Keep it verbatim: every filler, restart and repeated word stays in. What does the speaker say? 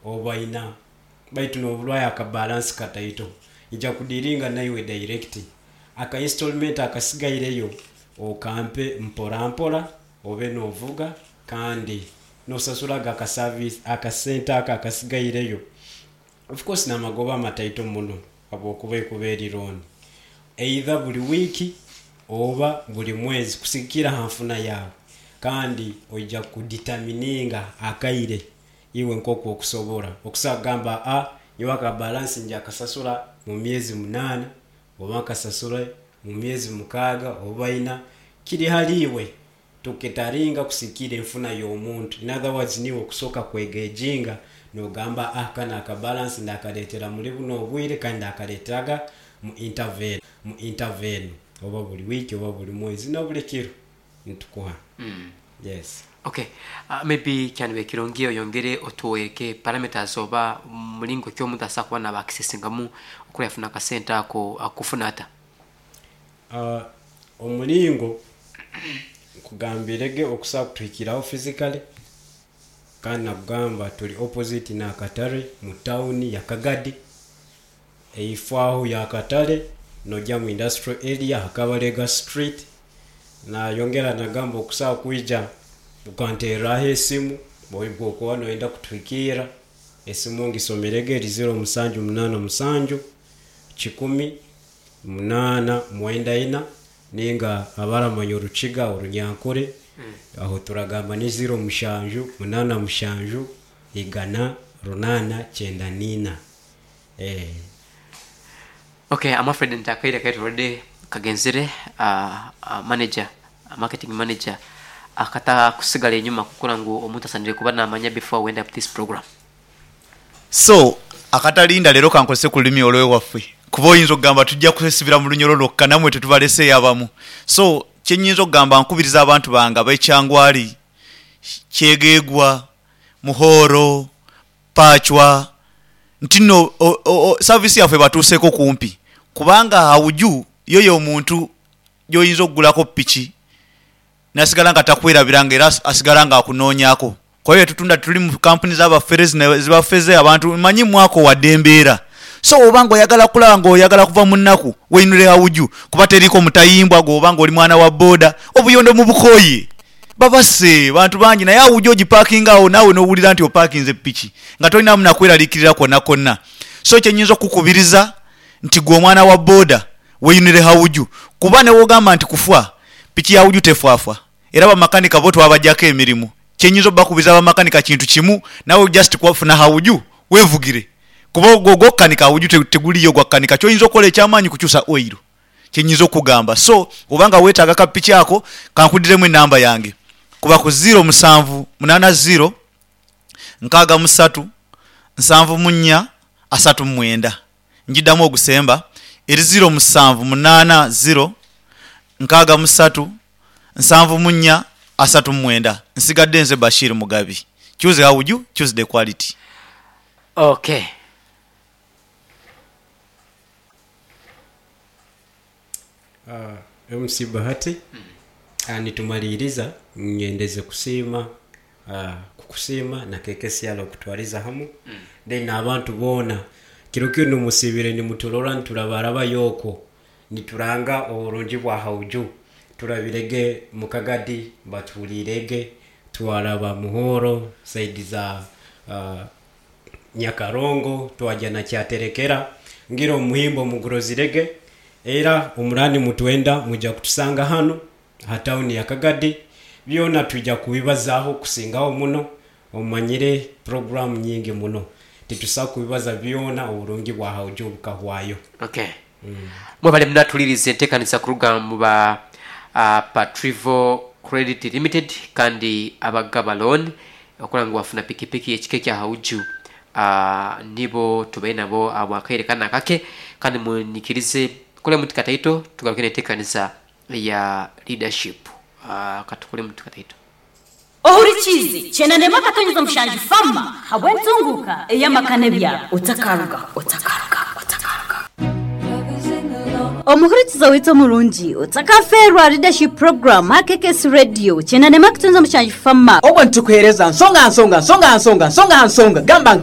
Oba ina baitu n'obulwayo akabalansi kataito, nja kudiringa naiwe direct, aka installment akasigaireyo okampe mpora mpora, obe novuga kandi nosasuraga aka service akasente ako akasigaireyo. Of course namagoba mataito muno habwokuba ekuba eri loan, either buli wiiki oba buli mwezi kusigikiira ha nfuna yaawe, kandi oija kudetermininga akaire iwe nkoku okusobora okusobola kugamba, aa nyowe aka balansi nja kukasasura mu myezi munaana oba nkasasule mu myezi mukaaga oba ina, kiri hali iwe. Tuketaringa kusigikiira enfuna y'omuntu. In other words, niiwe okusoka kwegejinga nogamba, ah kanu aka balansi ndakaletera muli bunu obwire kandi ndakaleteraga mu interval enu, mu interval enu, oba buli wiiki oba buli mwezi na buli kiro nitukuha. Yes. Okay, uh, maybe kyandibaire kirungi oyongere otwereke parameters oba mulingo ki omuntu asobola kuba naba accessingamu okura yafuna akasente ako akufuna ata? Uh, omulingo nkugambirege okusobola kutuhikiraho physically, kandi nakugamba tuli opposite n'akatare mu tawuni ya Kagadi, eifo aho y'akatare nojja mu industrial area Kabalega Street. Nayongera nagamba okusobola kwija okanterraho esimu bwokuba noyenda kutuhikiira, esimu ngisomerege, eri ziro musanju munaana musanju kikumi munaana mwenda ina, ninga abaramanya Orukiga Orunyankore aho turagamba ni ziro mushanju munaana mushanju igana runaana kyenda niina. Eh. Okay, I'm afraid nti akaire kaitu already kagenzere. uh, uh, manager uh, marketing manager akata kusigala enyuma kukura ngu omuntu asanire kuba namanya before we end up this program. So akatalinda leero kankozese ku lulimi olwewaffe, kuba oyinza okugamba tujja kwesibira mu Lunyoro lwokka, namwe tetubaleseeyo abamu. So kyenyinza okugamba, nkubiriza abantu bange abekyangwali, Kyegegwa, Muhoro, Pachwa, nti no service yaffe batuuseku kumpi, kubanga Hauju yoyo omuntu gyoyinza okugulaku piki nasigala nga takwerabiranga, era asigala nga akunonyaku kuba byetutunda tituli mu kampuni zabafere zino ezibafeze abantu. Manyi mwako wadde embeera, so oba nga oyagala kulaba nga oyagala kuva mu nnaku, weinure Hauju, kuba teriiko mutayimbwa. Gwoba nga oli mwana wa boda, obuyondo mubukoye, babase bantu bangi, naye Hauju ogipakinga awo naawe nowulira nti opakinze piki nga tolinamu nakweraliikirira kwona kwona. So kyenyinza okukubiriza nti gwe omwana wa boda, weinure Hauju, kuba newogamba nti kufa, piki ya Hauju tefaafa, era bamakanika bo twabajjaku emirimu. Kyenyinza obakubiriza abamakanika kintu kimu, nawe just kwafuna Hauju wevugire, kuba ogwo ogwokukanika Hauju teguliyo gwakukanika. Kyoyinza okukola ekyamaanyi kukyusa oil, kyenyinza okugamba. So oba nga wetaaga kapiki ako, kankudiremu enamba yange, kuba ku ziro musanvu munana ziro nkaaga musatu nsanvu munya asatu mumwenda. Njidamu ogusemba, eri ziro musanvu munana ziro nkaaga musatu nsanvu munya asatu mumwenda. Nsigadde nze Bashir Mugabi. Choose Hauju, choose the quality. Okay. Uh, M C Bahati, mm. uh, nitumaliriza nyendeze kusiima, uh, kukusiima na K K C R okutwaliza hamu, mm. then abantu boona kiro kinu musibire nimutulora niturabaraba yoko nituranga oburungi bwa Hauju. Turabirege mukagadi, batuhulirege, twaraba Muhoro, side za uh, Nyakarongo, twajya na Kyaterekera, ngira omuhimbo mugurozirege. Era omurani mutwenda mujja kutusanga hano ha tawuni ya Kagadi, byona twijja kubibazaho kusingaho muno. Omanyire programu nyingi muno, titusobola kubibaza byona, oburungi bwa Hauju bukahwayo. Okay, mwebale munatuliriza enteekaniza kuruga mu ba uh, Patrivo Credit Limited kandi abagaba loan okola ngu wafuna pikipiki ekika ekya Hauju. uh, nibo tubaire nabo abo akaire kana kake, kandi munyikirize tukole muti kataito tugaruke n'enteekaniza ya leadership. uh, katukole muti kataito. Ohurikize kyenda nema akatonyeza mushanju fama habw'entunguka ey'amakane byabo. Otakaruga, otakaruga, otakaruga. Omuhurikiza waitu omurungi, otakaferwa leadership program ha K K S Radio kyenda nema kutonza mushanju fama. Obwo nitukuheereza nsonga nsonga nsonga nsonga nsonga nsonga gamba nka